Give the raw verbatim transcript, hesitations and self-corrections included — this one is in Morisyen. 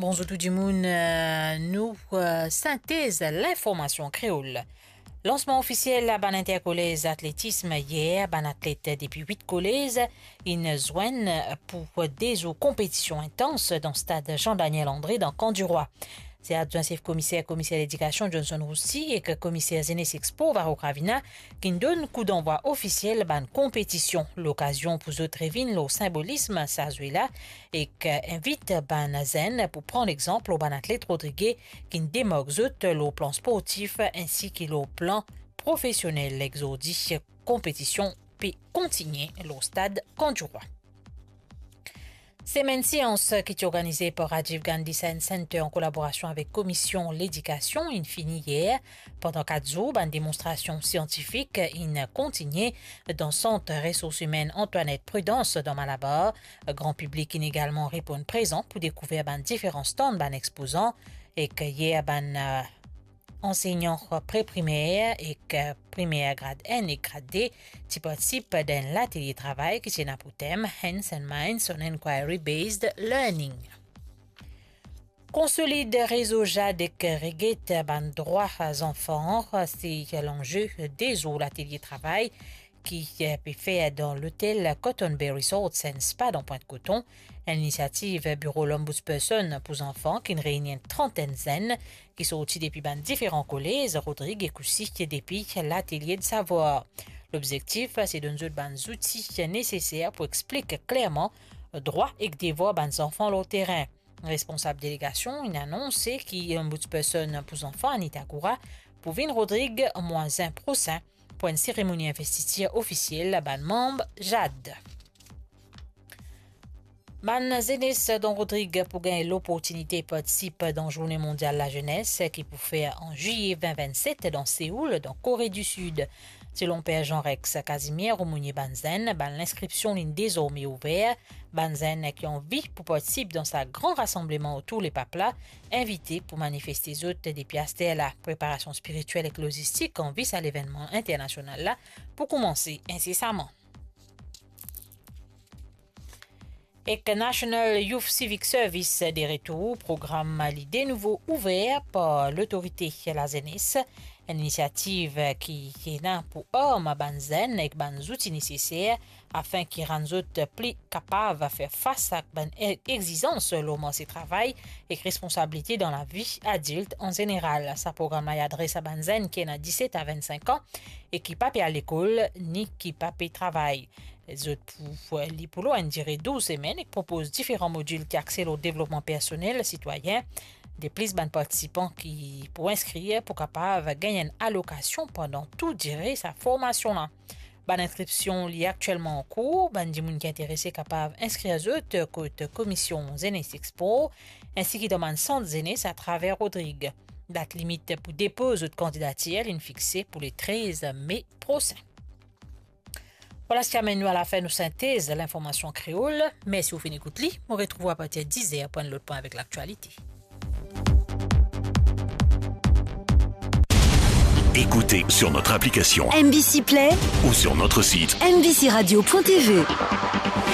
Bonzour tou dimoun, euh, nou, euh, sintez linformasion kreol. Lansman ofisiel a bann interkolez atletism yer, bann atlet depi wit kolez inn zwenn pou de zour konpetision intans dan stad Jean Daniel André dan Kan Dirwa. Se adwin sef komiser, komiser ledikasion Johnson Roussy ek komiser Zenes ek Spor Varro Cravina ki'nn donn kou danvwa ofisiel bann konpetision. Lokazion pou zot revinn lor sinbolism sa zwe la ek invit bann zenn pou pran lexanp lor bann atlet rodrige ki'nn demark zot lor plan sportif ensi ki lor plan profesionel. Zordi, konpetision pe kontigne lor stad Kan Dirwa. Semenn sians ki ti organize par Rajiv Gandhi Science Centre an kolaborasion avek Komisyon Ledikasion inn fini yer. Pandan kat zour, bann demonstrasion siantifik inn kontigne dan Sant Resours Imenn Antoinette Prudence dan Malabar. Gran piblik inn egalman reponn prezan pou dekouver bann diferan stand bann expozan, ek yer bann, eh, ansegnan pre-primer ek, eh, primer grad enn ek grad de ti partisip dan enn latelie travay ki ti ena pou tem Hands and Minds on Inquiry Based Learning. Konsolid rezo JAD ek reget bann drwa zanfan, se lanze de zour latelie travay ki, eh, pe fer dan lotel Cotton Bay Resort and Spa dan Pwint Koton, enn inisiativ Biro Lombudsperson pou zanfan ki'nn reyni enn trantenn zenn ki sorti depi bann diferan kolez Rodrig ek osi depi Latelie de Savwar. Lobzektif, se donn zot bann zouti neseser pou explik klerman drwa ek devwar bann zanfan lor terin. Responsab delegasion inn anonse ki Lombudsperson pou zanfan, Anita Goura, pou vinn Rodrig mwa zin prosin pou enn seremoni investitir ofisiel bann manm JAD. Bann zenes dan Rodrig pou gagn loportinite partisip dan Zourne Mondial Lazenes ki pou fer an zwiye vin vinn set dan Seoul, dan Kore di Sid. Selon Per Jean Rex Casimir, aumônier bann zenn, bann linskripsion inn dezorme ouver. Bann zenn ki anvi pou partisip dan sa gran rasanbleman otour Lepap la, invite pou manifeste zot depi aster la. Preparasion spiritiel ek lozistik an vi sa levennman internasional la pou koumanse insesaman. Ek National Youth Civic Service de retour, program li de nouvo ouver par Lotorite Lazenes, enn inisiativ ki ena pou arm bann zenn ek bann zouti neseser afin ki rann zot pli kapav fer fas ak bann e-, exizans lor marse travay ek responsabilite dan lavi adilt an zeneral. Sa program la adres a bann zenn ki ena diset a vinn-sink an e ki pa pe al lekol ni ki pa pe travay. Zot pou, li pou lor enn dire douz semenn ek propoz diferan modil ki axe lor devlopman personel, sitwayin. De plis, bann partisipan ki pou inskrir pou kapav gagn enn alokasion pandan tou dire sa formasion la. Bann inskripsion li aktielman an kour. Bann dimoun ki interese kapav inskrir zot kot Komisyon Zenes ek Spor, ensi ki dan bann sant zenes atraver Rodrig. Dat limit pou depoz zot kandidatir linn fixe pou le trez me prosin. Vwala seki amenn nou alafin nou sintez linformasion kreol. Mersi ou finn ekout li. Mo retrouv ou apartir dizer pou enn lot pwin avek laktialite. Écoutez sur notre application M B C Play ou sur notre site M B C radio point T V.